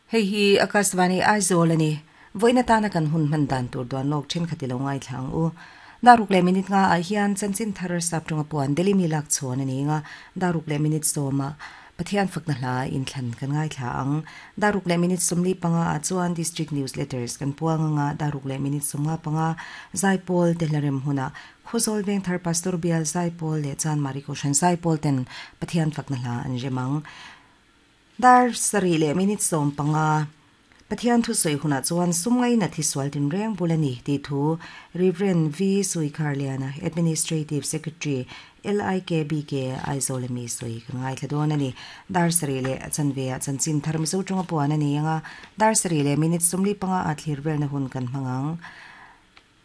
Hei hi Akashvani Aizawl a ni. Vawiin atana kan hun hman dan tur duan lawk thenkhat i lo ngaithla ang u. Daruk leh minute nga ah hian chanchin thar saptawnga puan Delhi mi lak chhawn a ni nga, daruk leh minute sawmah Pathian fakna hla inthlan kan ngaithla ang. Daruk leh minute 45 ah chuan District Newsletters kan puang anga daruk leh minute 55 Zaipawl te hlarem hunah Khawzawl Vengthar Pastor Bial Zaipawl leh Chanmari Kohhran Zaipawl ten Pathian fakna hla an rem ang. Dar sarih leh minute 15, Pathian thusawi hunah chuan sum ngaina thisual tinreng bul a ni tih thu Rev. V. Suikharliana, Administrative Secretary, LIKBK, Aizawl ami sawi kan ngaithla dawn a ni. Dar sarih leh a chanve ah chanchin thar Mizo tawnga puan a ni ang a, dar sarih leh minute 45 ah thlir velna hun kan hmang ang.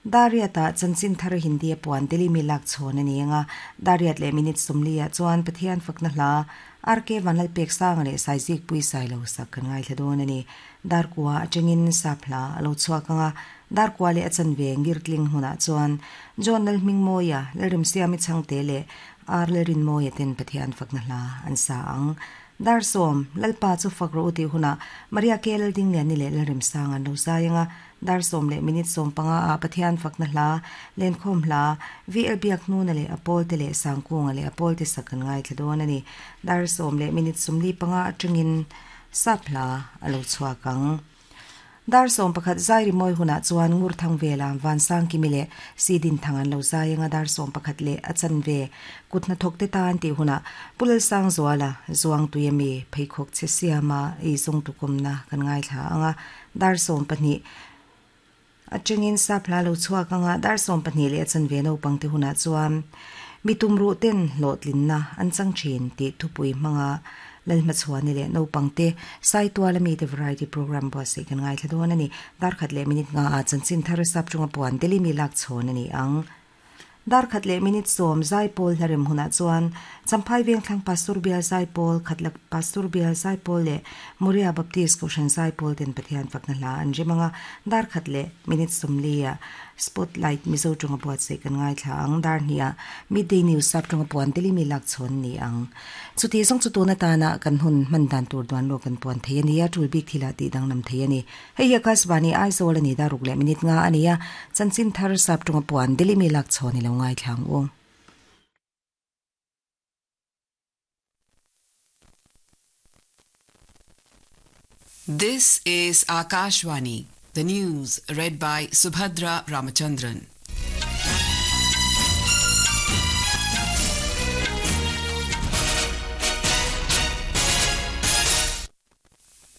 Dariat-ah chanchin thar Hindi a puan Delhi mi lak chhawn a ni ang a, Dariat leh minute 40 ah chuan Pathian fakna hla RK Vanlalpeksanga leh Saizikpui Sailo sak kan ngaithla dawn a ni. Darkua atangin sap hla a lo chhuak ang a, Darkua leh a chanve Ngirtling hmunah chuan John Lalhmingmawia, Lalremsiami Chhangte leh R Lalrinmawia ten Pathian fakna hla an sa ang. Dar sawm, Lalpa chu fak rawh u tih hunah Maria K Laldingliani leh Lalremsanga an lo zai ang a, Dar sawm leh minute 15 ah Pathian fakna hla, Lenkhawm hla, VL Biakhnuna leh a pawlte leh Sangkunga leh a pawlte sak kan ngaithla dawn a ni. Dar sawm leh minute 45 atangin sap hla a lo chhuak ang. Dar 11 zai rimawi hunah chuan Ngurthang vela Vansangkimi leh Sidinthang an lo zai anga dar 11 leh a chanve kut hnathawk te tan tih hunah Pu Lalsangzuala Zuangtui ami pheikhawk chhe siama ei zawng tukumna kan ngaithla anga Dar 12 atangin sap hla lo chhuak anga dar 12 leh a chanve naupang te hunah chuan mi tumruh ten hlawhtlinna an chang thin tih thupui hmanga Lalhmachhuani leh naupang te Saitual ami te variety program buatsaih kan ngaithla dawn a ni. Dar khat leh minute nga ah chanchin thar sap tawnga puan Delhi mi lak chhawn a ni ang. Dar khat leh minute 10 Zaipawl hlarem hunah chuan Champhai Vengthlang Pastor Bial Zaipawl, Khatlak Pastor Bial Zaipawl leh Moria Baptist Kohhran Zaipawl ten Pathian fakna hla an rem anga, dar khat leh minute 40 ah Spotlight Mizo tawnga buatsaih kan ngaithla ang, dar hnih ah Midday News sap tawnga puan Delhi mi lak chhawn ni ang. Chuti zawng chu tun atana kan hun hman dan tur duan lawk kan puan thei a ni a, tul bik thilah tih danglam thei a ni. Hei hi Akashvani Aizawl a ni daruk leh minute nga a ni a, chanchin thar sap tawnga puan Delhi mi lak chhawn i lo ngaithla ang u. This is Akashvani, the news read by Subhadra Ramachandran.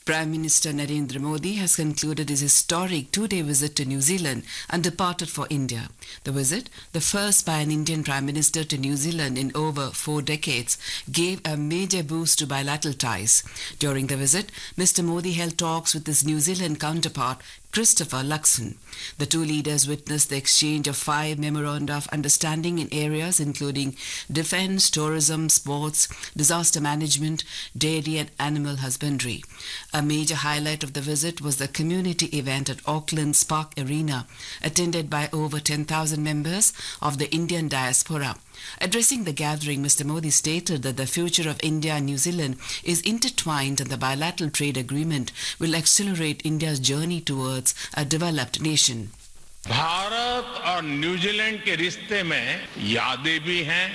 Prime Minister Narendra Modi has concluded his historic two-day visit to New Zealand and departed for India. The visit, the first by an Indian Prime Minister to New Zealand in over four decades, gave a major boost to bilateral ties. During the visit, Mr. Modi held talks with his New Zealand counterpart, Christopher Luxon. The two leaders witnessed the exchange of five memoranda of understanding in areas including defense, tourism, sports, disaster management, dairy and animal husbandry. A major highlight of the visit was the community event at Auckland's Park Arena, attended by over 10,000 members of the Indian diaspora. Addressing the gathering, Mr. Modi stated that the future of India and New Zealand is intertwined and the bilateral trade agreement will accelerate India's journey towards a developed nation. Bharat और New Zealand के रिश्ते में यादें भी हैं